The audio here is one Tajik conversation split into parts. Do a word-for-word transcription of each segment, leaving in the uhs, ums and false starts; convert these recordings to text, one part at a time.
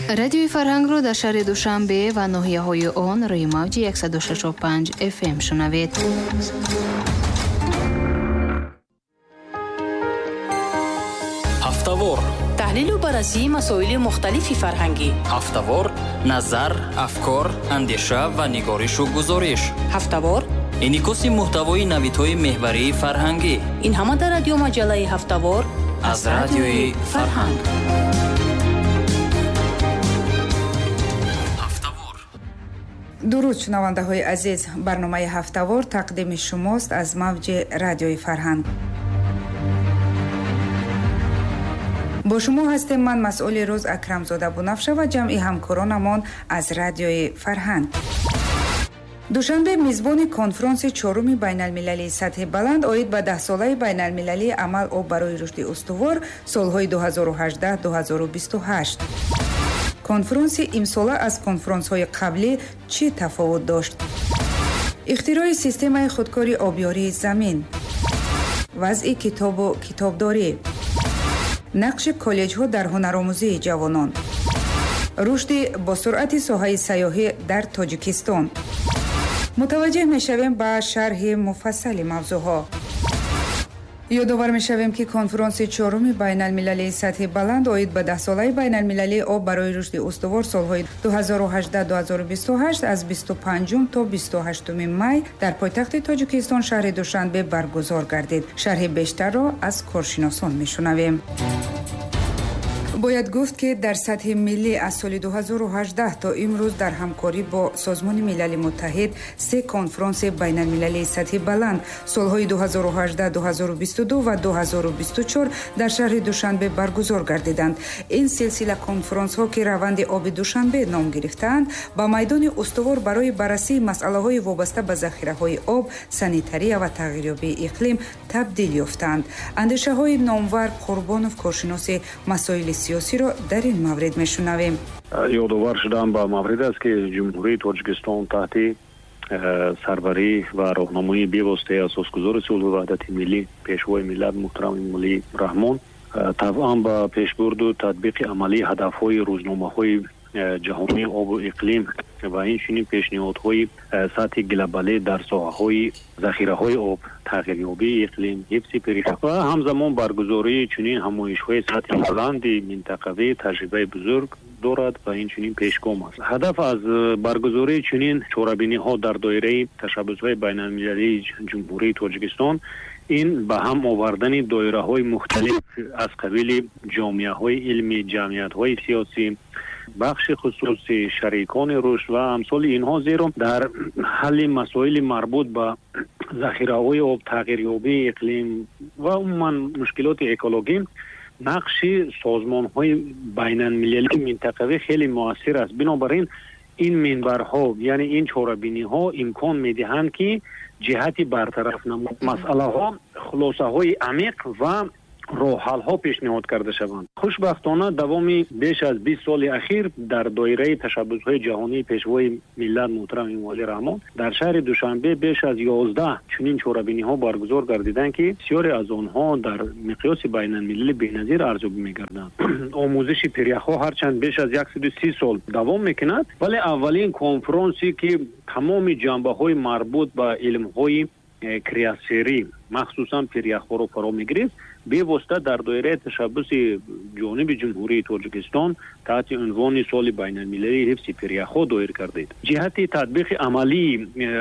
Радиои Фарҳангро дар шаҳри Душанбе ва ноҳияҳои он рӯи мавҷи яксаду шашу панҷ эф эм шунавед. Ҳафтавор таҳлилу баррасии масоили мухталифи фарҳангӣ. Ҳафтавор назар, афкор, андеша ва нигоришу гузориш. Ҳафтавор инъикоси муҳтавои навидҳои меҳварии фарҳангӣ. Ин ҳама дар радиомаҷаллаи Ҳафтавор аз радиои Фарҳанг. Дуруд, шунавандаҳои азиз. Барномаи Ҳафтавор тақдими шумост аз мавҷи радиои Фарҳанг. Бо шумо ҳастем ман, масъули рӯз Акрамзода Бунафша ва ҷамъи ҳамкоронамон аз радиои Фарҳанг. Душанбе мизбони конфронси чоруми байналмилалии сатҳи баланд оид ба даҳсолаи байналмилалии амал об барои рушди устувор солҳои ду ҳазору ҳаждаҳ ду ҳазору бисту ҳашт. Конфронси имсола аз конфронсҳои қаблӣ чӣ тафовут дошт? Ихтирои системаи худкори обёрии замин, вазъи китобу китобдорӣ, нақши коллеҷҳо дар ҳунаромӯзии ҷавонон, рушди босуръати соҳаи сайёҳӣ дар Тоҷикистон. Мутаваҷҷеҳ мешавем ба шарҳи муфассали мавзӯъҳо. Ёдовар мешавем, ки конфронси чоруми байналмилалии сатҳи баланд оид ба даҳсолаи байналмилалии об барои рушди устувор солҳои ду ҳазору ҳаждаҳ ду ҳазору бисту ҳашт аз бисту панҷум то бисту ҳаштуми май дар пойтахти Тоҷикистон шаҳри Душанбе баргузор гардид. Шарҳи бештарро аз коршиносон мешунавем. Бояд гуфт, ки дар сатҳи миллӣ аз соли ду ҳазору ҳаждаҳ то имрӯз дар ҳамкорӣ бо Созмони Милали Муттаҳид се конфронси байналмилалии сатҳи баланд солҳои ду ҳазору ҳаждаҳ ду ҳазору бисту ду ва ду ҳазору бисту чор дар шаҳри Душанбе баргузор гардиданд. Ин силсила конфронсҳо, ки раванди оби Душанбе ном гирифтаанд, ба майдони устувор барои баррасии масъалаҳои вобаста ба захираҳои об, санитария ва тағйирёбии иқлим табдил ёфтаанд. Андешаҳои Номвар Қурбонов, коршиноси масоили сиёсиро дар ин маврид мешунавем. Ёдовар шудан ба маврид аст, ки Ҷумҳурии Тоҷикистон таҳти сарварӣ ва роҳнамоии бевоситаи асосгузори сулҳу ваҳдати миллӣ, пешвои миллат муҳтарам Эмомалӣ Раҳмон табъан ба пешбурду татбиқи амалии ҳадафҳои рӯзномаҳои ҷаҳонии обу иқлим ва инчунин пешниҳодҳои сатҳи глобалӣ дар соҳаҳои захираҳои об, тағйирёбии иқлим, ҳифзи пиряхҳо ва ҳамзамон баргузории чунин ҳамоишҳои сатҳи баланди минтақавӣ таҷрибаи бузург дорад ва инчунин пешгом аст. Ҳадаф аз баргузории чунин чорабиниҳо дар доираи ташаббусҳои байналмилалии Ҷумҳурии Тоҷикистон ин ба ҳам овардани доираҳои мухталиф аз қабили ҷомеаҳои илмӣ, ҷамъиятҳои сиёсӣ, бахши хусусӣ, шарикони рушд ва амсоли инҳо, зеро дар ҳалли масоили марбут ба захираҳои об, тағйирёбии иқлим ва умуман мушкилоти экологӣ нақши созмонҳои байналмилалии минтақавӣ хеле муассир аст. Бинобар ин ин минбарҳо, яъне ин чорабиниҳо имкон медиҳанд, ки ҷиҳати бартараф намудани масъалаҳо хулосаҳои амиқ ва роҳҳалҳо пешниҳод карда шаванд. Хушбахтона давоми беш аз бист соли ахир дар доираи ташаббусҳои ҷаҳонии пешвои миллат муҳтарам Эмомалӣ Раҳмон дар шаҳри Душанбе беш аз ёздаҳ чунин чорабиниҳо баргузор гардиданд, ки бисёре аз онҳо дар миқёси байналмилалӣ беназир арзёбӣ мегарданд. Омӯзиши пиряхҳо ҳарчанд беш аз яксаду си сол давом мекунад, вале аввалин конфронсе ки тамоми ҷанбаҳои марбут ба илмҳои криосферӣ, махсусан пиряхҳоро фаро мегирифт, бевосита дар доираи ташаббуси ҷониби Ҷумҳурии Тоҷикистон таҳти унвони соли байналмилалии ҳифзи пиряхҳо доир кардид. Ҷиҳати татбиқи амалии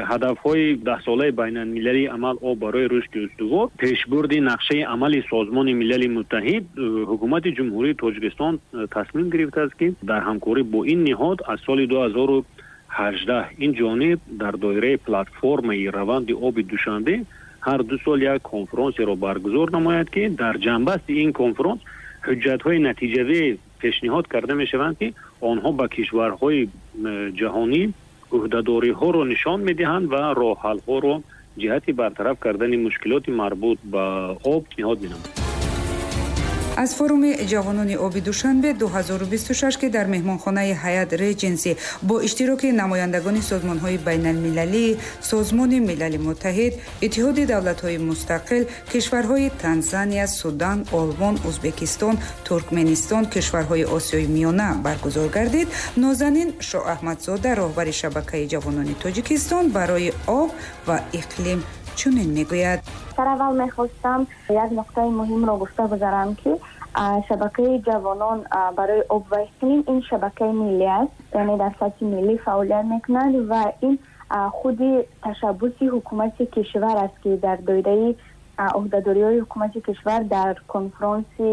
ҳадафҳои даҳсолаи байналмилалии амал об барои рушди устувор, пешбурди нақшаи амали Созмони Милали Муттаҳид, ҳукумати Ҷумҳурии Тоҷикистон тасмим гирифтааст, ки дар ҳамкорӣ бо ин ниҳод аз соли ду ҳазору ҳаждаҳ ин ҷониб дар доираи платформаи раванди оби Душанбе ҳар ду сол як конфронсеро баргузор намояд, ки дар ҷанбасти ин конфронс ҳуҷҷатҳои натиҷавӣ пешниҳод карда мешаванд, ки онҳо ба кишварҳои ҷаҳонӣ ӯҳдадориҳоро нишон медиҳанд ва роҳҳалҳоро ҷиҳати бартараф кардани мушкилоти марбут ба об пешниҳод менамоянд. Аз форуми ҷавонони оби Душанбе ду ҳазору бисту шаш, ки дар меҳмонхонаи Ҳаят Реҷенси бо иштироки намояндагони созмонҳои байналмилалӣ, Созмони Милали Муттаҳид, Иттиҳоди давлатҳои мустақил, кишварҳои Танзания, Судан, Олмон, Узбекистон, Туркменистон, кишварҳои Осиёи Миёна баргузор гардид, Нозанин Шоаҳмадзода, роҳбари шабакаи ҷавонони Тоҷикистон барои об ва иқлим чунин мегӯяд. Сараввал мехостам як нуқтаи муҳимро гуфта гузарам, ки шабакаи ҷавонон барои об ва иқлим ин шабакаи миллӣ аст, яъне дар сатҳи миллӣ фаъолият мекунад ва ин худи ташаббуси ҳукумати кишвар аст, ки дар доираи ӯҳдадориҳои ҳукумати кишвар дар конфронси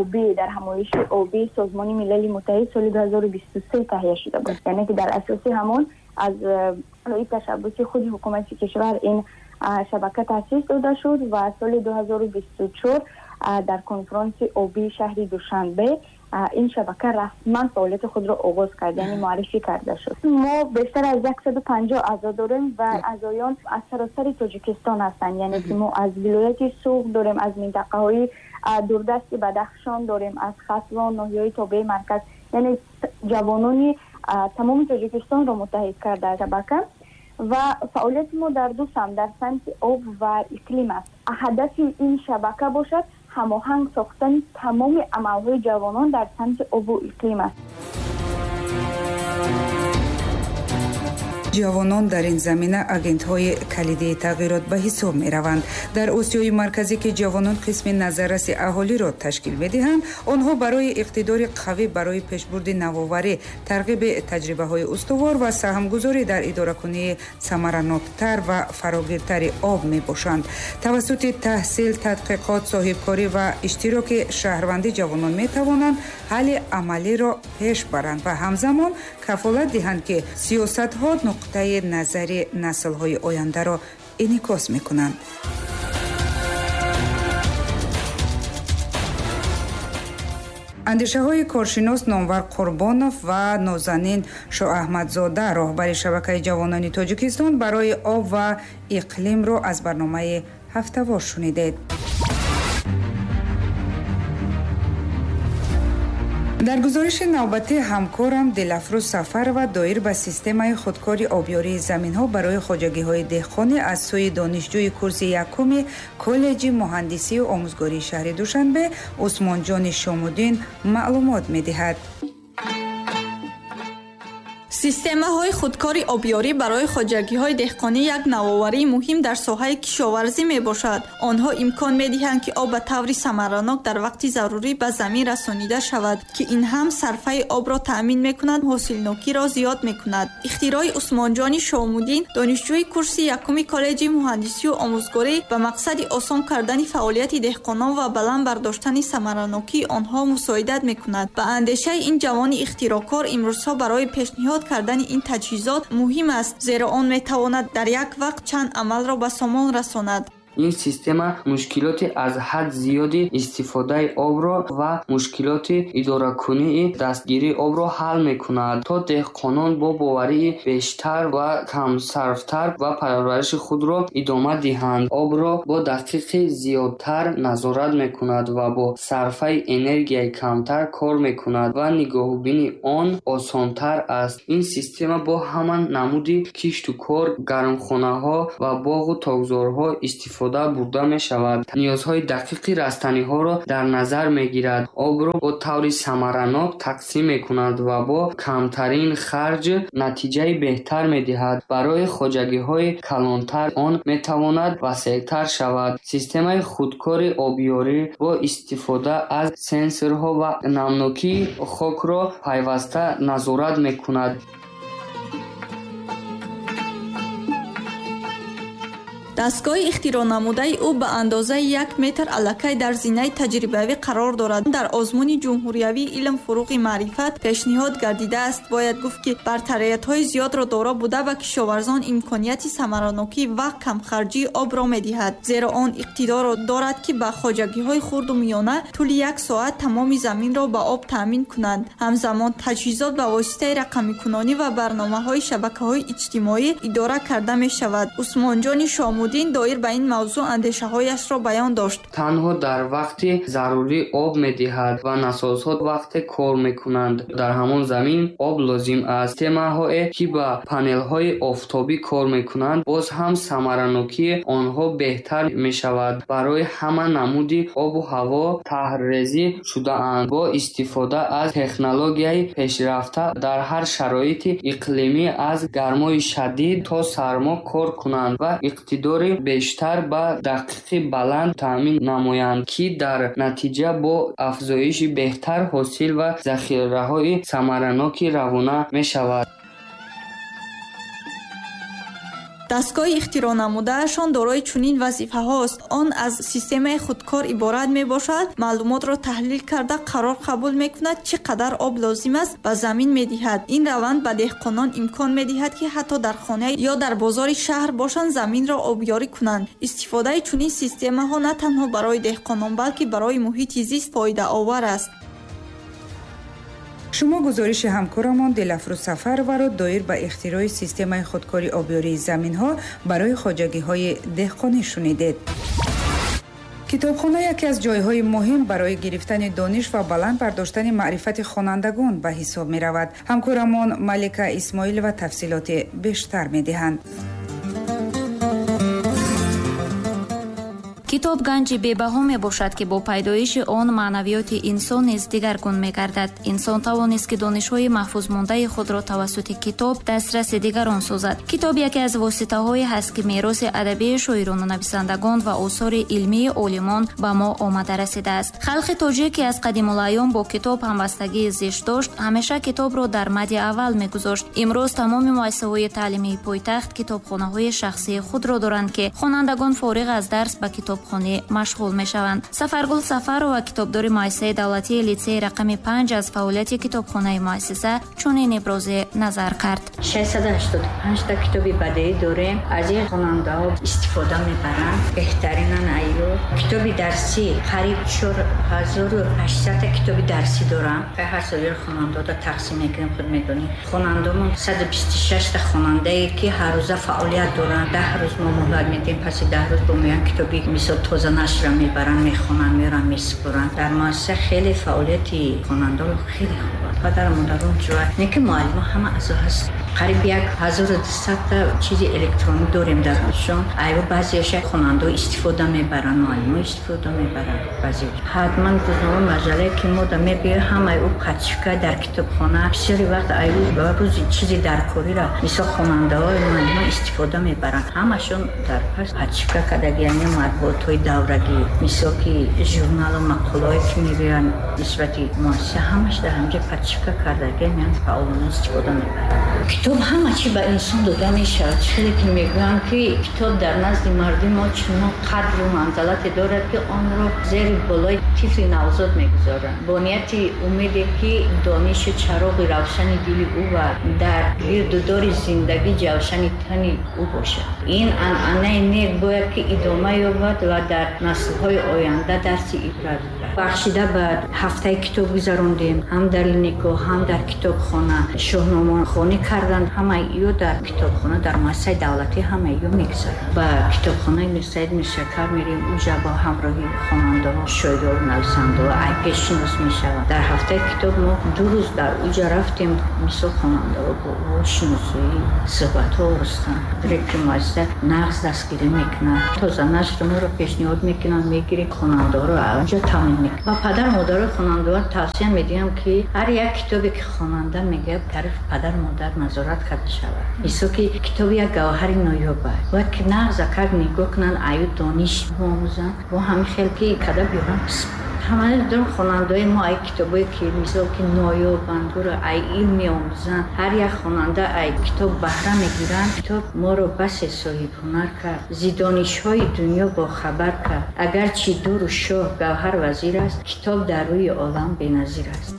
обӣ, дар ҳамоиши обии Созмони Милали Муттаҳид соли ду ҳазору бисту се таҳия шуда буд. Яъне ки дар асоси ҳамон аз рӯи ташаббуси худи ҳукумати кишвар ин шабака таъсис дода шуд ва соли ду ҳазору бисту чор дар конфронси обии шаҳри Душанбе ин шабака расман фаъолияти худро оғоз кард, яъне муаррифӣ карда шуд. Мо бештар аз яксаду панҷоҳ аъзо дорем ва аъзоён аз саросари Тоҷикистон ҳастанд, яъне ки мо аз вилояти Суғд дорем, аз минтақаҳои дурдасти Бадахшон дорем, аз Хатлон, ноҳияҳои тобеи марказ, яъне ҷавонони тамоми Тоҷикистонро муттаҳид карда шабака. Ва фаъолияти мо дар ду самт, дар самти об ва иқлим аст. Ҳадафи ин шабака бошад ҳамоҳанг сохтани тамоми амалҳои ҷавонон дар самти обу иқлим аст. Ҷавонон дар ин замина агентҳои калидии тағйирот ба ҳисоб мераванд. Дар Осиёи Марказӣ, ки ҷавонон қисми назарраси аҳолиро ташкил медиҳанд, онҳо барои иқтидори қавӣ барои пешбурди навоварӣ, тарғиби таҷрибаҳои устувор ва саҳмгузорӣ дар идоракунии самараноктар ва фарогиртари об мебошанд. Тавассути таҳсил, тадқиқот, соҳибкорӣ ва иштироки шаҳрвандӣ ҷавонон метавонанд ҳалли амалиро пеш баранд ва ҳамзамон кафолат диҳанд, ки сиёсатҳо нуқтаи назари наслҳои ояндаро инъикос мекунанд. Андешаҳои коршинос Номвар Қурбонов ва Нозанин Шоаҳмадзода, роҳбари шабакаи ҷавонони Тоҷикистон барои об ва иқлимро аз барномаи ҳафтавор шунидед. Дар гузориши навбатӣ ҳамкорам Дилафрӯз Сафарова доир ба системаи худкори обёрии заминҳо барои хоҷагиҳои деҳқонӣ аз сӯи донишҷӯи курси якуми коллеҷи муҳандисию омӯзгории шаҳри Душанбе Усмонҷони Шомуддин маълумот медиҳад. Системаҳои худкори обёрӣ барои хоҷагиҳои деҳқонӣ як навоварии муҳим дар соҳаи кишоварзӣ мебошад. Онҳо имкон медиҳанд, ки об ба таври самаранок дар вақти зарурӣ ба замин расонида шавад, ки ин ҳам сарфаи обро таъмин мекунад, ҳосилнокиро зиёд мекунад. Ихтирои Усмонҷони Шомуддин, донишҷӯи курси якуми коллеҷи муҳандисию омӯзгорӣ, ба мақсади осон кардани фаъолияти деҳқонон ва баланд бардоштани самаранокии онҳо мусоидат мекунад. Ба андешаи ин ҷавони ихтироъкор, имрӯзҳо барои пешниҳод кардани ин таҷҳизот муҳим аст, зеро он метавонад дар як вақт чанд амалро ба сомон расонад. Ин система мушкилоти аз ҳад зиёди истифодаи обро ва мушкилоти идоракунии дастгирии обро ҳал мекунад, то деҳқонон бо боварии бештар ва камсарфтар ва парвариши худро идома диҳанд. Обро бо дақиқи зиёдтар назорат мекунад ва бо сарфаи энергияи камтар кор мекунад ва нигоҳубини он осонтар аст. Ин система бо ҳама намуди кишту кор, гармхонаҳо ва боғу токзорҳо истифода бурда мешавад. Ниёзҳои дақиқи растаниҳоро дар назар мегирад, обро бо таври самаранок тақсим мекунад ва бо камтарин харҷ натиҷаи беҳтар медиҳад. Барои хоҷагиҳои калонтар он метавонад васеътар шавад. Системаи худкори обёрӣ бо истифода аз сенсорҳо ва намнокии хокро пайваста назорат мекунад. Дастгоҳи ихтироънамудаи ӯ ба андозаи як метр аллакай дар зинаи таҷрибавӣ қарор дорад. Дар озмуни ҷумҳуриявии илм фуруғи маърифат пешниҳод гардидааст. Бояд гуфт, ки бартариятҳои зиёдро доро буда ба кишоварзон имконияти самаранокӣ ва камхарҷии обро медиҳад, зеро он иқтидорро дорад, ки ба хоҷагиҳои хурду миёна тӯли як соат тамоми заминро ба об таъмин кунанд. Ҳамзамон таҷҳизот ба воситаи рақамикунонӣ ва барномаҳои шабакаҳои иҷтимоӣ идора карда мешавад. Усмонҷони Шомуддин Наҷмуддин доир ба ин мавзӯъ андешаҳояшро баён дошт. Танҳо дар вақти зарурӣ об медиҳад ва насосҳо вақте кор мекунанд. Дар ҳамон замин об лозим аст. Системаҳое ки ба панелҳои офтобӣ кор мекунанд, боз ҳам самаранокии онҳо беҳтар мешавад. Барои ҳама намуди обу ҳаво таҳрезӣ шудаанд. Бо истифода аз технологияи пешрафта дар ҳар шароити иқлимӣ аз гармои шадид то сармо кор кунанд ва иқтидори бештар ба дақиқи баланд таъмин намоянд, ки дар натиҷа бо афзоиши беҳтар ҳосил ва захираҳои самараноки равона мешавад. Дастгоҳи ихтироънамудаашон дорои чунин вазифаҳост. Он аз системаи худкор иборат мебошад, маълумотро таҳлил карда қарор қабул мекунад, чӣ қадар об лозим аст ба замин медиҳад. Ин раванд ба деҳқонон имкон медиҳад, ки ҳатто дар хона ё дар бозори шаҳр бошанд, заминро обёрӣ кунанд. Истифодаи чунин системаҳо на танҳо барои деҳқонон, балки барои муҳити зист фоидаовар аст. Шумо гузориши ҳамкорамон Дилафрӯз Сафарованро доир ба ихтирои системаи худкори обёрии заминҳо барои хоҷагиҳои деҳқонӣ шунидед. Китобхона яке аз ҷойҳои муҳим барои гирифтани дониш ва баланд бардоштани маърифати хонандагон ба ҳисоб меравад. Ҳамкорамон Малика Исмоилова тафсилоти бештар медиҳанд. Китоб ганҷи бебаҳо мебошад, ки бо пайдоиши он маънавиёти инсон низ дигаргун мегардад. Инсон тавонист, ки донишҳои маҳфузмондаи худро тавассути китоб дастраси дигарон созад. Китоб яке аз воситаҳое ҳаст, ки мероси адабии шоирону нависандагон ва осори илмии олимон ба мо омада расидааст. Халқи тоҷик, ки аз қадимулайём бо китоб ҳамбастагии зишт дошт, ҳамеша китобро дар мади аввал мегузошт. Имрӯз тамоми муассисаҳои таълимии пойтахт китобхонаҳои шахсии худро доранд, ки хонандагон фориғ аз дарс ба китоб китобхонӣ машғул мешаванд. Сафаргул Сафарова, китобдори муассисаи давлатии литсеи рақами панҷ, аз фаъолияти китобхонаи муассиса чунин иброзе назар кард. шашсаду ҳаштоду панҷ та китоби бадеӣ дорем. Аз ин хонандаҳо истифода мебаранд. Беҳтаринан айё. Китоби дарсӣ қариб чор ҳазору ҳаштсад та китоби дарсӣ дорам. Ҳар сол хонандаҳо тақсим мекунем, худ медонем. Хонандаҳомон саду бисту шаш та хонандае, ки ҳар рӯза фаъолият доранд. Даҳ рӯз мо муҳлат медиҳем, паси даҳ рӯз бо меоянд китоби мисол тоза нашрро мебаранд, мехонанд, меоранд, месупоранд. Дар муассиса хеле фаъолияти хонандаҳо хеле хуб аст. Падару модарон ҷӯяд, не ки муаллимо ҳама аъзо ҳаст. Қариб як ҳазору дусад та чизи электронӣ дорем дар худшон. Айво баъзеяша хонандаҳо истифода мебаранд, муаллимо истифода мебаранд. Баъзе ҳатман рӯзнома маҷаллае ки мо да мебиёем, ҳамаи ӯ пачка дар китобхона. Бисёри вақт айво ба рӯзи чизи даркориро мисол хонандаҳо муаллимо истифода мебаранд. Ҳамашон дар пас пачка кардаги, яъне матбуотҳои даврагӣ, мисол ки журналу мақолаҳое ки мебиёянд нисбати муассиса, ҳамаш дар ҳамҷа пачка кардаги, яъне фаъолона истифода мебаранд. Китоб ҳама чӣ ба инсон дода мешавад. Чизе ки мегӯянд, ки китоб дар назди мардуми мо чунон қадру манзалате дорад, ки онро зери болои тифли навзод мегузоранд, бо нияти умеде ки донишу чароғи равшани дили ӯ ва дар гирду дори зиндагӣ ҷавшани тани ӯ бошад. Ин анъанаи нек бояд ки идома ёбад ва дар наслҳои оянда дарси ибрат гирад. Бахшида ба ҳафтаи китоб гузарондем, ҳам дар линико, ҳам дар китобхона шоҳномахонӣ карданд. Ҳамаи ё дар китобхона, дар муассисаи давлатӣ ҳамаи ё мегузаранд. Ба китобхонаи Мирсаид Миршакар мерем, уҷа бо ҳамроҳи хонандаҳо, шоиру нависандаҳо айпешинос мешаванд. Дар ҳафтаи китоб мо ду рӯз дар уҷа рафтем, мисол хонандаҳо бо шиносоӣ суҳбатҳо оростанд. Директори муассиса нағз дастгирӣ мекунад, тоза нашр моро пешниҳод мекунанд, мегирем хонандаҳоро уҷа таъмин мекунад. Ба падару модарои хонандаҳо тавсия медиҳам, ки ҳар як китобе ки хонанда мегӯяд, тарафи падару модар назорат карда шавад. Мисол ки китоб як гавҳари ноёб аст, бояд ки нағз акар нигоҳ кунанд, аю дониш биомӯзанд, бо ҳамин хел ки када биёранд. Ҳамаи дорам хонандаҳои мо ай китобое ки мисол ки ноёбанд, гуро ай илм меомӯзанд. Ҳар як хонанда ай китоб баҳра мегиранд. Китоб моро басе соҳибҳунар кард, зи донишҳои дунё бохабар кард. Агарчи дуру шоҳ гавҳар вазир аст, китоб дар рӯи олам беназир аст.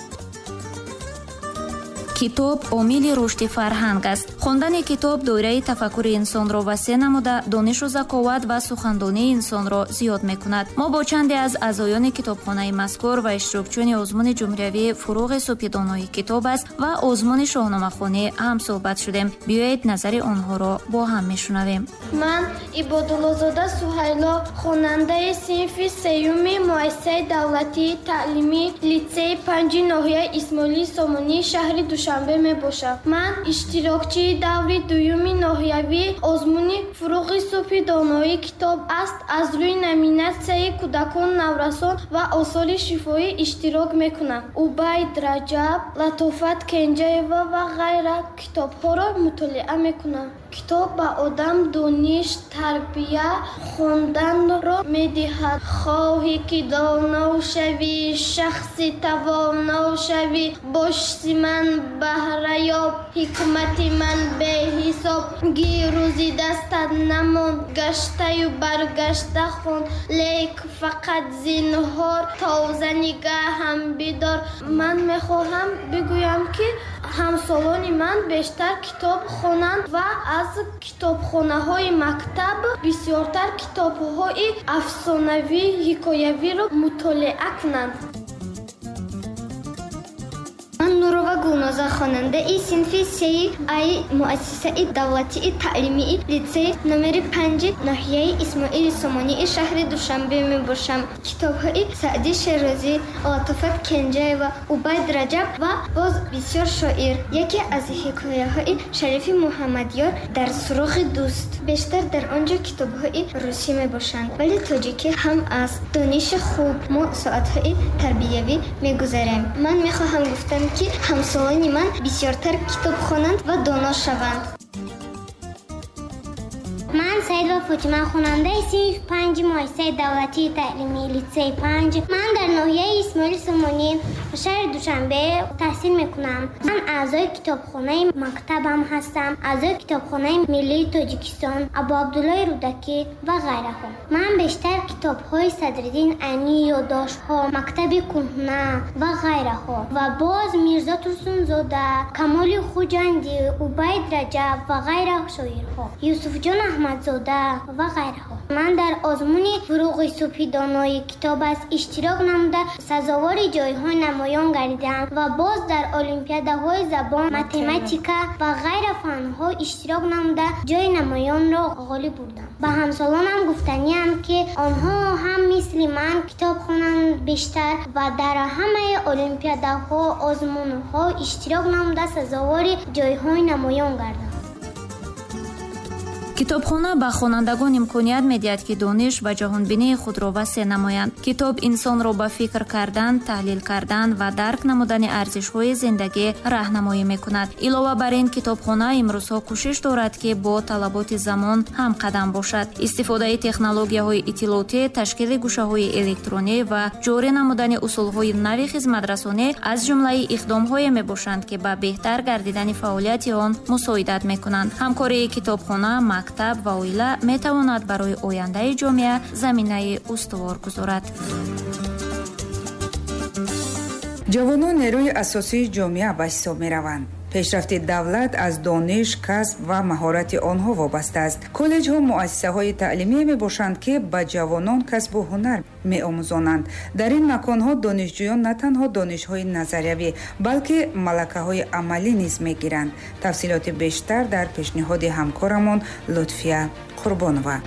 Китоб омили рушди фарҳанг аст. Хондани китоб доираи тафаккури инсонро васеъ намуда, донишу заковат ва сухандонии инсонро зиёд мекунад. Мо бо чанде аз аъзоёни китобхонаи мазкур ва иштирокчиёни озмуни ҷумҳуриявии «Фуруғи субҳи донои китоб аст» ва озмуни шоҳномахонӣ ҳамсӯҳбат шудем. Биёед, назари онҳоро бо ҳам мешунавем. Ман Ибодуллозода Суҳайло, хонандаи синфи сеюми муассисаи давлатии таълимии литсеи панҷи ноҳияи Исмоили Сомонии шаҳри Душанбе мебошам. Ман иштирокчии даври дуюми ноҳиявии озмуни «Фуруғи субҳи доноии китоб аст» аз рӯи номинатсияи кӯдакон, наврасон ва осори шифоҳӣ иштирок мекунам. Убайд Раҷаб, Латофат Кенҷаева ва ғайра китобҳоро мутолиа мекунам. Китоб ба одам дониш, тарбия, хонданро медиҳад. Хоҳӣ ки доно шавӣ, шахси тавоно шавӣ, бошси ман баҳраёб, ҳикмати ман беҳисоб. Гирӯзи дастат намон, гаштаю баргашта хон, лек фақат зинҳор, тоза нигаҳам бидор. Ман мехоҳам бигӯям, ки ҳамсолони ман бештар китоб хонанд ва аз китобхонаҳои мактаб бисёртар китобҳои афсонавӣ, ҳикоявиро мутолиа кунанд. Ман Нурова Гулноза, хонандаи синфи сеи ай муассисаи давлатии таълимии литсеи номери панҷи ноҳияи Исмоили Сомонии шаҳри Душанбе мебошам. Китобҳои Саъди Шерозӣ, Латофат Кенҷаева, Убайд Раҷаб ва боз бисёр шоир. Яке аз ҳикояҳои Шарифи Муҳаммадёр «Дар суроғи дӯст». Бештар дар он ҷо китобҳои русӣ мебошанд, вале тоҷикӣ ҳам аст. Дониши хуб. Мо соатҳои тарбиявӣ мегузарем. Ман мехоҳам гуфтам, ки ҳамсолони ман бисёртар китоб хонанд ва доно шаванд. Ман Саидова Фотима, хонандаи синфи панҷи муассисаи давлатии таълимии литсеи панҷ. Ман дар ноҳияи Исмоили Сомонӣ шаҳри Душанбе таҳсил мекунам. Ман аъзои китобхонаи мактабам ҳастам, аъзои китобхонаи миллии Тоҷикистон, Абуабдуллои Рӯдакӣ ва ғайраҳо. Ман бештар китобҳои Садриддин Айнӣ, ёддоштҳо, мактаби кӯҳна ва ғайраҳо ва боз Мирзо Турсунзода, Камоли Хуҷандӣ, Убайд Раҷаб ва ғайра шоирҳо, Юсуфҷон Аҳмадзода ва ғайраҳо. Ман дар озмуни «Фуруғи субҳи донои китоб аст» иштирок намуда, сазовори ҷойҳои намоён гардидам ва боз дар олимпиадаҳои забон, математика ва ғайра фанҳо иштирок намуда, ҷои намоёнро ғолиб бурдам. Ба ҳамсолонам гуфтаниам, ки онҳо ҳам мисли ман китоб хонанд бештар ва дар ҳамаи олимпиадаҳо, озмунҳо иштирок намуда, сазовори ҷойҳои намоён гарданд. Китобхона ба хонандагон имконият медиҳад, ки дониш ва ҷаҳонбинии худро васеъ намоянд. Китоб инсонро ба фикр кардан, таҳлил кардан ва дарк намудани арзишҳои зиндагӣ раҳнамоӣ мекунад. Илова бар ин, китобхона имрӯзҳо кӯшиш дорад, ки бо талаботи замон ҳамқадам бошад. Истифодаи технологияҳои иттилоотӣ, ташкили гӯшаҳои электронӣ ва ҷорӣ намудани усулҳои нави хизматрасонӣ аз ҷумлаи иқдомҳое мебошанд, ки ба беҳтар гардидани фаъолияти он мусоидат мекунанд. Ҳамкории китобхона, мактаб ва оила метавонад барои ояндаи ҷомеа заминаи устувор гузорад. Ҷавонон нерӯи асосии ҷомеа ба ҳисоб мераванд. Пешрафти давлат аз дониш, касб ва маҳорати онҳо вобаста аст. Коллеҷҳо муассисаҳои таълимие мебошанд, ки ба ҷавонон касбу ҳунар меомӯзонанд. Дар ин маконҳо донишҷӯён на танҳо донишҳои назариявӣ, балки малакаҳои амалӣ низ мегиранд. Тафсилоти бештар дар пешниҳоди ҳамкорамон Лутфия Қурбонова.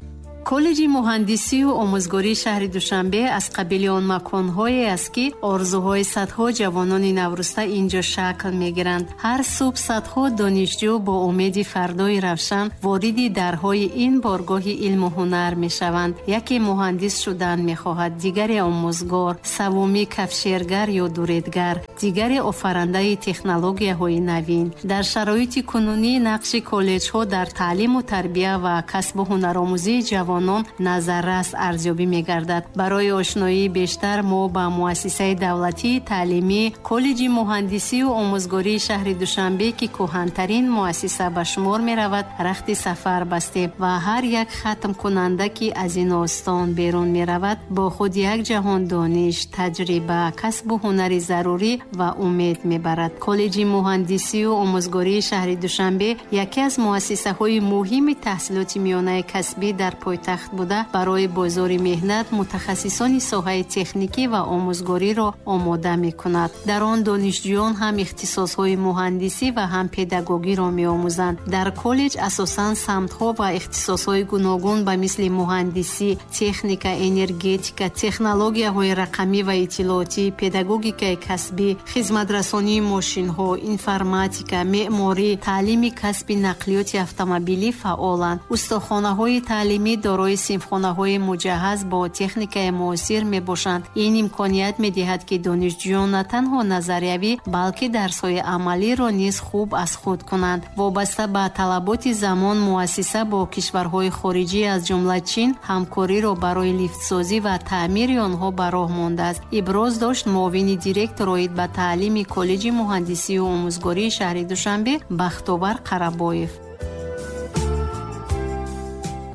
Коллеҷи муҳандисию омӯзгории шаҳри Душанбе аз қабили он маконҳое аст, ки орзуҳои садҳо ҷавонони навруста инҷо шакл мегиранд. Ҳар субҳ садҳо донишҷӯ бо умеди фардои равшан вориди дарҳои ин боргоҳи илму ҳунар мешаванд. Яке муҳандис шудан мехоҳад, дигаре омӯзгор, саввумӣ кафшергар ё дуредгар, дигаре офарандаи технологияҳои навин. Дар шароити кунунӣ нақши коллеҷҳо дар таълиму тарбия ва касбу ҳунаромӯзии ҷавон ҷавонон назаррас арзёбӣ мегардад. Барои ошноии бештар мо ба муассисаи давлатии таълимӣ коллеҷи муҳандисию омӯзгории шаҳри Душанбе, ки кӯҳантарин муассиса ба шумор меравад, рахти сафар бастем ва ҳар як хатмкунанда, ки аз ин остон берун меравад, бо худ як ҷаҳон дониш, таҷриба, касбу ҳунари зарурӣ ва умед мебарад. Коллеҷи муҳандисию омӯзгории шаҳри Душанбе яке аз муассисаҳои муҳими таҳсилоти миёнаи касбӣ дар пойтахт буда, барои бозори меҳнат мутахассисони соҳаи техникӣ ва омӯзгориро омода мекунад. Дар он донишҷӯён ҳам ихтисосҳои муҳандисӣ ва ҳам педагогиро меомӯзанд. Дар коллеҷ асосан самтҳо ва ихтисосҳои гуногун ба мисли муҳандисӣ, техника, энергетика, технологияҳои рақамӣ ва иттилоотӣ, педагогикаи касбӣ, хизматрасонии мошинҳо, информатика, меъморӣ, таълими касби нақлиёти автомобилӣ фаъоланд. Устохонаҳои таълимӣ дорои синфхонаҳои муҷаҳҳаз бо техникаи муосир мебошанд. Ин имконият медиҳад, ки донишҷӯён на танҳо назариявӣ, балки дарсҳои амалиро низ хуб аз худ кунанд. Вобаста ба талаботи замон, муассиса бо кишварҳои хориҷӣ аз ҷумла Чин ҳамкориро барои лифтсозӣ ва таъмири онҳо ба роҳ мондааст. Иброз дошт муовини директор оид ба таълими коллеҷи муҳандисию омӯзгории шаҳри Душанбе Бахтовар Қарабоев.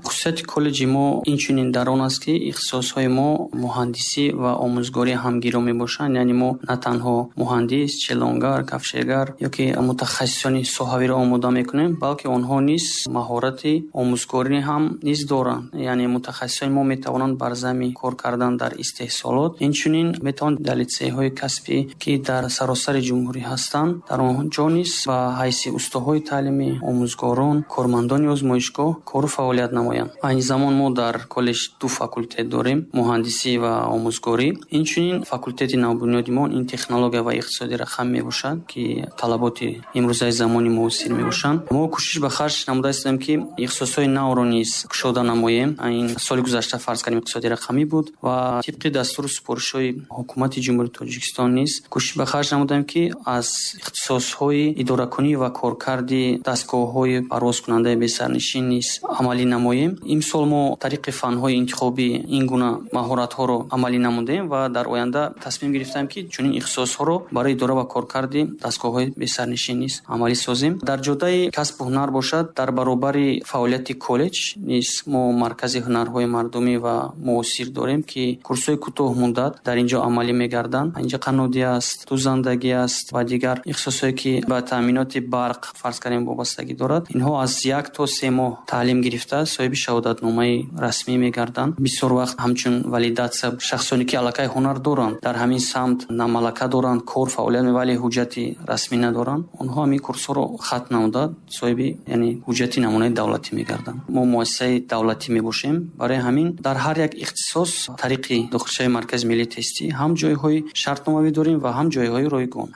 Хусусияти коллеҷи мо инчунин дар он аст, ки ихтисосҳои мо муҳандисӣ ва омӯзгорӣ ҳамгиро мебошанд. Яъне мо на танҳо муҳандис, челонгар, кафшергар ё ки мутахассисони соҳавиро омода мекунем, балки онҳо низ маҳорати омӯзгорӣ ҳам низ доранд. Яъне мутахассисони мо метавонанд бар зами кор кардан дар истеҳсолот, инчунин метавонанд дар литсейҳои касбӣ, ки дар саросари ҷумҳурӣ ҳастанд, дар он ҷо низ ба ҳайси устоҳои таълимӣ, омӯзгорон, кормандони озмоишгоҳ кору фаъолият намоянд. Айни замон мо дар коллеҷ ду факултет дорем: муҳандисӣ ва омӯзгорӣ. Инчунин факултети навбунёди мо ин технология ва иқтисоди рақам мебошад, ки талаботи имрӯзаи замони муосир мебошанд. Мо кӯшиш ба харҷ намуда истем, ки ихтисосҳои навро низ кушода намоем. Ин соли гузашта фарз кардем иқтисоди рақамӣ буд ва тибқи дастуру супоришҳои ҳукумати Ҷумҳурии Тоҷикистон низ кӯшиш ба харҷ намудаем, ки аз ихтисосҳои идоракунӣ ва коркарди дастгоҳҳои парвозкунандаи бесарнишин низ амалӣ намоем. Имсол мо тариқи фанҳои интихобӣ ин гуна маҳоратҳоро амалӣ намудем ва дар оянда тасмим гирифтем, ки чунин ихтисосҳоро барои идора ва коркарди дастгоҳҳои бесарнишин низ амалӣ созем. Дар ҷодаи касбу ҳунар бошад, дар баробари фаъолияти коллеҷ низ мо маркази ҳунарҳои мардумӣ ва муосир дорем, ки курсҳои кӯтоҳмуддат дар ин ҷо амалӣ мегарданд. Инҷа қаннодӣ аст, дӯзандагӣ аст ва дигар ихтисосҳое, ки ба таъминоти барқ фарз кардем вобастагӣ дорад. Инҳо аз як то се моҳ таълим гирифта соҳиби шаҳодатномаи расмӣ мегарданд. Бисёр вақт ҳамчун валидатсия шахсоне, ки аллакай ҳунар доранд, дар ҳамин самт на малака доранд, кор фаъолият мебаранд, вале ҳуҷҷати расмӣ надоранд, онҳо ҳамин курсҳоро хатм намуда соҳиби яъне ҳуҷҷати намунаи давлатӣ мегарданд. Мо муассисаи давлатӣ мебошем. Барои ҳамин дар ҳар як ихтисос тариқи дохилшавии Маркази миллии тестӣ ҳам ҷойҳои шартномавӣ дорем ва ҳам ҷойҳои ройгон.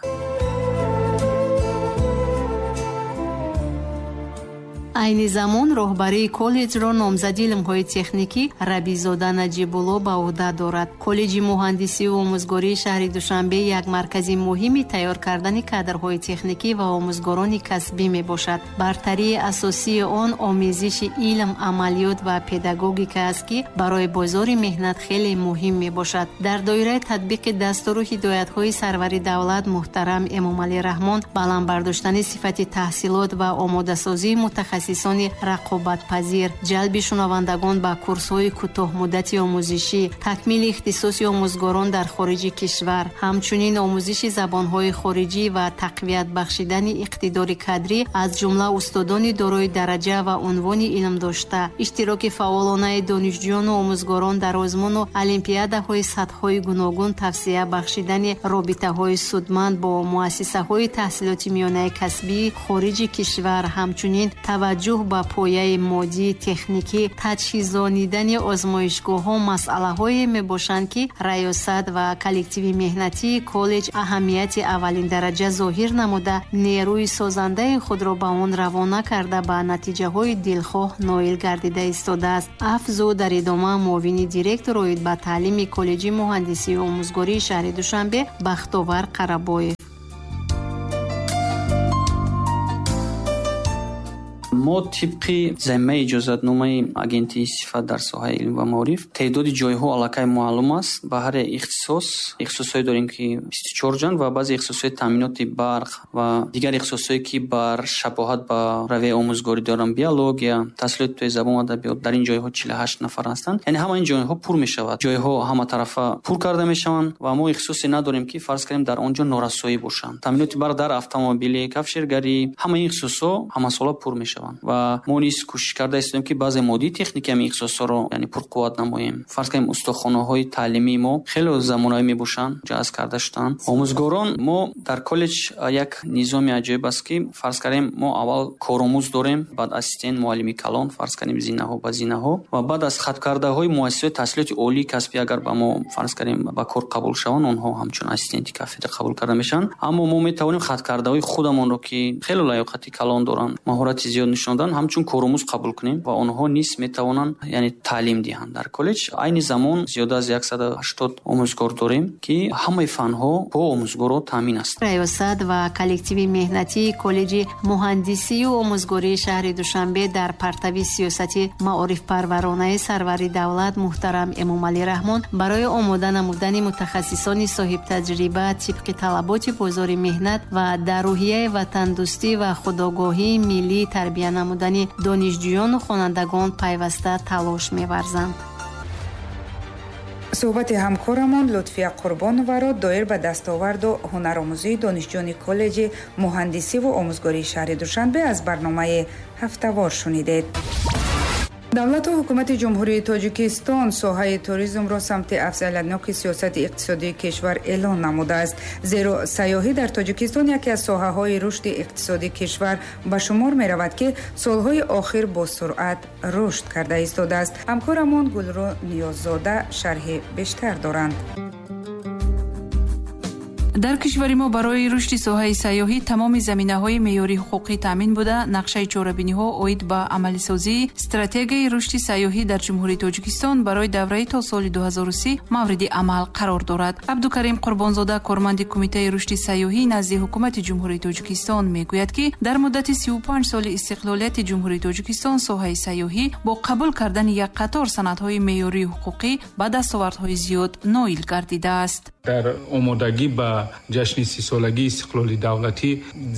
Айни замон роҳбарии коллеҷро номзади илмҳои техникӣ Рабизода Наҷибулло ба уҳда дорад. Коллеҷи муҳандисию омӯзгории шаҳри Душанбе як маркази муҳими тайёр кардани кадрҳои техникӣ ва омӯзгорони касбӣ мебошад. Бартарии асосии он омезиши илм, амалиёт ва педагогика аст, ки барои бозори меҳнат хеле муҳим мебошад. Дар доираи татбиқи дастуру ҳидоятҳои сарвари давлат муҳтарам Эмомалӣ Раҳмон, баланд бардоштани сифати таҳсилот ва омодасозии мутахассис мутахассисони рақобатпазир, ҷалби шунавандагон ба курсҳои кӯтоҳмуддати омӯзишӣ, такмили ихтисоси омӯзгорон дар хориҷи кишвар, ҳамчунин омӯзиши забонҳои хориҷӣ ва тақвият бахшидани иқтидори кадрӣ аз ҷумла устодони дорои дараҷа ва унвони илм дошта, иштироки фаъолонаи донишҷӯёну омӯзгорон дар озмуну олимпиадаҳои сатҳҳои гуногун, тавсия бахшидани робитаҳои судманд бо муассисаҳои таҳсилоти миёнаи касбии хориҷи кишвар, ҳамчунин таваҷҷӯҳ ба пояи моддӣ, техникӣ, таҷҳизонидани озмоишгоҳҳо масъалаҳое мебошанд, ки раёсат ва коллективи меҳнатии коллеҷ аҳамияти аввалиндараҷа зоҳир намуда, нерӯи созандаи худро ба он равона карда ба натиҷаҳои дилхоҳ ноил гардида истодааст. Афзуд дар идома муовини директор оид ба таълими коллеҷи муҳандисию омӯзгории шаҳри Душанбе Бахтовар Қарабоев. Мо тибқи замимаи иҷозатномаи агентии сифат дар соҳаи илм ва маориф теъдоди ҷойҳо аллакай маълум аст. Ба ҳар ихтисос ихтисосҳое дорем, ки бисту чор ҷан ва баъзе ихтисосҳои таъминоти барқ ва дигар ихтисосҳое, ки бар шабоҳат ба равияи омӯзгорӣ доранд, биология, таҳсилоти тои забон ва адабиёт, дар ин ҷойҳо чилу ҳашт нафар ҳастанд. Яъне ҳама ин ҷойҳо пур мешавад. Ҷойҳо ҳаматарафа пур карда мешаванд ва мо ихтисосе надорем, ки фарз кунем дар он ҷо норасоӣ бошанд. Таъминоти барқ дар автомобилӣ, кафшергарӣ, ҳама ин ихтисосҳо ҳамасола пур мешаванд ва мо низ кӯшиш карда истем, ки баъзе моддии техникӣ ҳамин ихтисосҳоро яъне пурқувват намоем. Фарз кунем устохонаҳои таълимии мо хеле замонавӣ мебошанд, ҷазб карда шуданд. Омӯзгорон мо дар коллеҷ як низоми аҷоиб аст, ки фарз кунем мо аввал коромӯз дорем, баъд ассистент, муаллими калон, фарз кунем зинаҳо ба зинаҳо ва баъд аз хаткардаҳои муассисаҳои таҳсилоти олии касбӣ агар ба мо фарз кунем ба кор қабул шаванд, онҳо ҳамчун ассистенти кафедра қабул карда мешаванд. Аммо мо метавонем хаткардаҳои худамонро, ки хеле лаёқати калон доранд, маҳорати зиёд нишон доданд, ҳамчун коромӯз қабул кунем ва онҳо низ метавонанд яъне таълим диҳанд дар коллеҷ. Айни замон зиёда аз яксаду ҳаштод омӯзгор дорем, ки ҳамаи фанҳо бо омӯзгорро таъмин аст. Раёсат ва коллективи меҳнатии коллеҷи муҳандисию омӯзгории шаҳри Душанбе дар партави сиёсати маорифпарваронаи сарвари давлат муҳтарам Эмомалӣ Раҳмон барои омода намудани мутахассисони соҳибтаҷриба тибқи талаботи бозори меҳнат ва дар рӯҳияи ватандӯстӣ ва худогоҳии миллӣ тарбия намудани донишҷӯёну хонандагон пайваста талош меварзанд. Суҳбати ҳамкорамон Лутфия Қурбонованро доир ба дастоварду ҳунаромӯзии донишҷӯёни коллеҷи муҳандисиву омӯзгории шаҳри Душанбе аз барномаи ҳафтавор шунидед. Давлату ҳукумати Ҷумҳурии Тоҷикистон соҳаи туризмро самти афзалиятноки сиёсати иқтисодии кишвар эълон намудааст. Зеро сайёҳӣ дар Тоҷикистон яке аз соҳаҳои рушди иқтисодии кишвар ба шумор меравад, ки солҳои охир бо суръат рушд карда истодааст. Ҳамкорамон Гулрӯ Ниёззода шарҳи бештар доранд. Дар кишвари мо барои рушди соҳаи сайёҳӣ тамоми заминаҳои меъёрии ҳуқуқӣ таъмин буда, нақшаи чорабиниҳо оид ба амалисозии стратегияи рушди сайёҳӣ дар Ҷумҳурии Тоҷикистон барои давраи то соли ду ҳазору си мавриди амал қарор дорад. Абдукарим Қурбонзода, корманди Кумитаи рушди сайёҳӣ назди Ҳукумати Ҷумҳурии Тоҷикистон, мегӯяд, ки дар муддати сию панҷ соли истиқлолияти Ҷумҳурии Тоҷикистон соҳаи сайёҳӣ бо қабул кардани як қатор санадҳои меъёрии ҳуқуқӣ ба дастовардҳои зиёд ноил гардидааст. Дар омодагӣ ба ҷашни сисолагии истиқлоли давлатӣ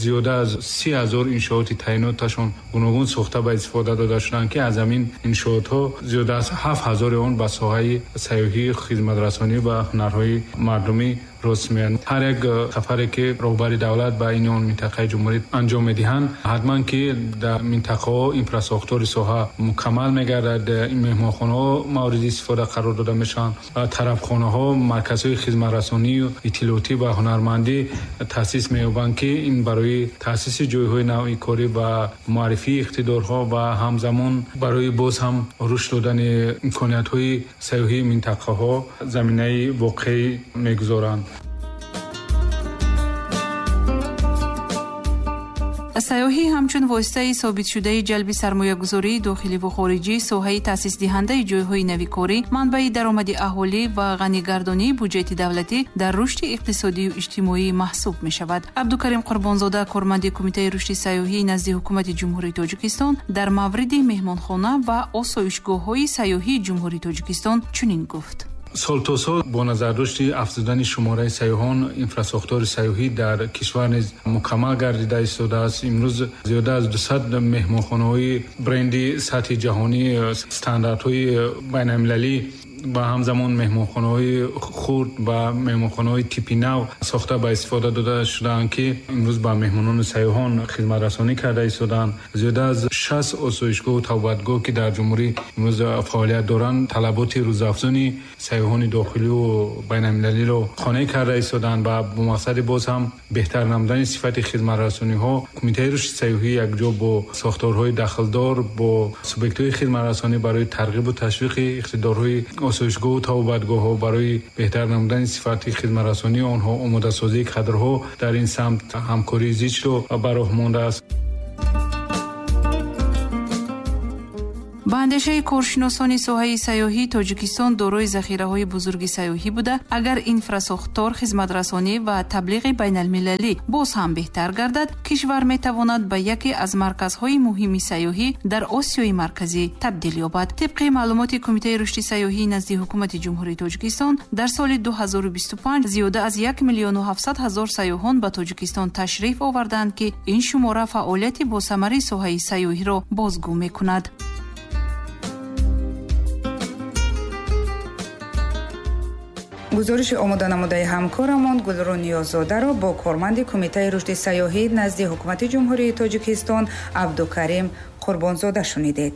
зиёда аз си ҳазор иншооти таъиноташон гуногун сохта ба истифода дода шуданд, ки аз ҳамин иншоотҳо зиёда аз ҳафт ҳазори он ба соҳаи сайёҳӣ, хизматрасонӣ ва ҳунарҳои мардумӣ рост меоянд. Ҳар як сафаре ки роҳбари давлат ба ин он минтақаи ҷумҳурӣ анҷом медиҳанд, ҳатман ки дар минтақаҳо инфрасохтори соҳа мукаммал мегардад, меҳмонхонаҳо мавриди истифода қарор дода мешаванд, тарабхонаҳо, марказҳои хизматрасонию иттилоотӣ ва ҳунармандӣ таъсис меёбанд, ки ин барои таъсиси ҷойҳои нави корӣ ва муаррифии иқтидорҳо ва ҳамзамон барои боз ҳам рушд додани имкониятҳои сайёҳии минтақаҳо заминаи воқеӣ мегузоранд. Сайёҳӣ ҳамчун воситаи собитшудаи ҷалби сармоягузории дохилӣ ву хориҷӣ, соҳаи таъсисдиҳандаи ҷойҳои навикорӣ, манбаи даромади аҳолӣ ва ғанигардонии буҷети давлатӣ дар рушди иқтисодию иҷтимоӣ маҳсуб мешавад. Абдукарим Қурбонзода, корманди Кумитаи рушди сайёҳӣ назди Ҳукумати Ҷумҳурии Тоҷикистон, дар мавриди меҳмонхона ва осоишгоҳҳои сайёҳии Ҷумҳурии Тоҷикистон чунин гуфт. Сол то сол бо назардошти афзудани шумораи сайёҳон, инфрасохтори сайёҳӣ дар кишвар низ мукаммал гардида истодааст. Имрӯз зиёда аз дусад меҳмонхонаҳои бренди сатҳи ҷаҳонӣ, стандартҳои байналмилалӣ ва ҳамзамон меҳмонхонаҳои хурд ва меҳмонхонаҳои типи нав сохта ба истифода дода шудаанд, ки имрӯз ба меҳмонону сайёҳон хизматрасонӣ карда истодаанд. Зиёда аз шаст осоишгоҳу тавбатгоҳ, ки дар ҷумҳурӣ имрӯз фаъолият доранд, талаботи рӯзафзуни сайёҳони дохилию байналмилалиро қонеъ карда истодаанд ва бо мақсади боз ҳам беҳтар намудани сифати хизматрасониҳо Кумитаи рушди сайёҳӣ якҷо бо сохторҳои дахлдор, бо субъектҳои хизматрасонӣ барои тарғибу ташвиқи иқтидорҳои осоишгоҳу тавбатгоҳҳо барои беҳтар намудани сифати хизматрасонии онҳо, омодасозии кадрҳо дар ин самт ҳамкории зичро ба роҳ мондааст. Ба андешаи коршиносони соҳаи сайёҳӣ, Тоҷикистон дорои захираҳои бузурги сайёҳӣ буда, агар инфрасохтор, хизматрасонӣ ва таблиғи байналмилалӣ боз ҳам беҳтар гардад, кишвар метавонад ба яке аз марказҳои муҳими сайёҳӣ дар Осиёи Марказӣ табдил ёбад. Тибқи маълумоти Кумитаи рушди сайёҳии назди Ҳукумати Ҷумҳурии Тоҷикистон, дар соли ду ҳазору бисту панҷ зиёда аз як миллиону ҳафтсад ҳазор сайёҳон ба Тоҷикистон ташриф оварданд, ки ин шумора фаъолияти босамари соҳаи сайёҳиро бозгӯ мекунад. Гузориши омоданамудаи ҳамкорамон Гулрӯ Ниёззодаро бо корманди Кумитаи рушди сайёҳӣ назди Ҳукумати Ҷумҳурии Тоҷикистон Абдукарим Қурбонзода шунидед.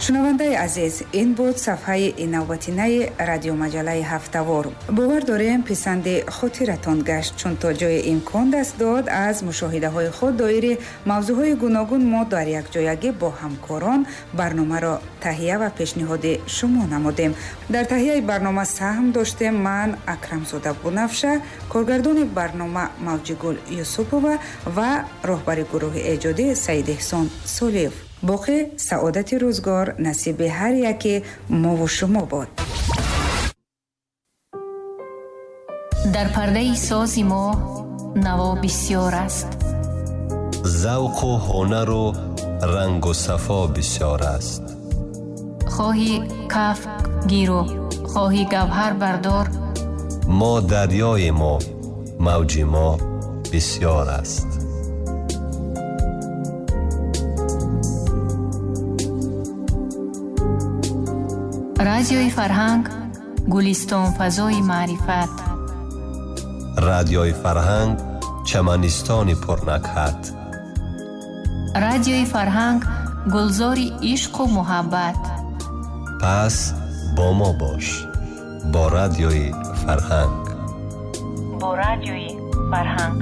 Шунавандаи азиз, ин буд сафҳаи навбатинаи радиомаҷаллаи ҳафтавор. Бовар дорем писанди хотиратон гашт, чун то ҷои имкон даст дод аз мушоҳидаҳои худ доири мавзӯъҳои гуногун мо дар якҷоягӣ бо ҳамкорон барномаро таҳия ва пешниҳоди шумо намудем. Дар таҳияи барнома саҳм доштем ман Акрамзода Бунафша, коргардони барнома Мавҷигул Юсупова ва роҳбари гурӯҳи эҷодӣ Саид Эҳсон Солиев. Боқӣ саодати рӯзгор насиби ҳар яке мову шумо бод. Дар пардаи сози мо наво бисёр аст, завқу ҳунару рангу сафо бисёр аст. Хоҳӣ каф гиру хоҳӣ гавҳар бардор, мо дарёи мо мавҷи мо бисёр аст. Радиои Фарҳанг, гулистон фазои маърифат. Радиои Фарҳанг, чаманистони пурнакҳат. Радиои Фарҳанг, гулзори ишқу муҳаббат. Пас бо мо бош, бо Радиои Фарҳанг. Бо Радиои Фарҳанг.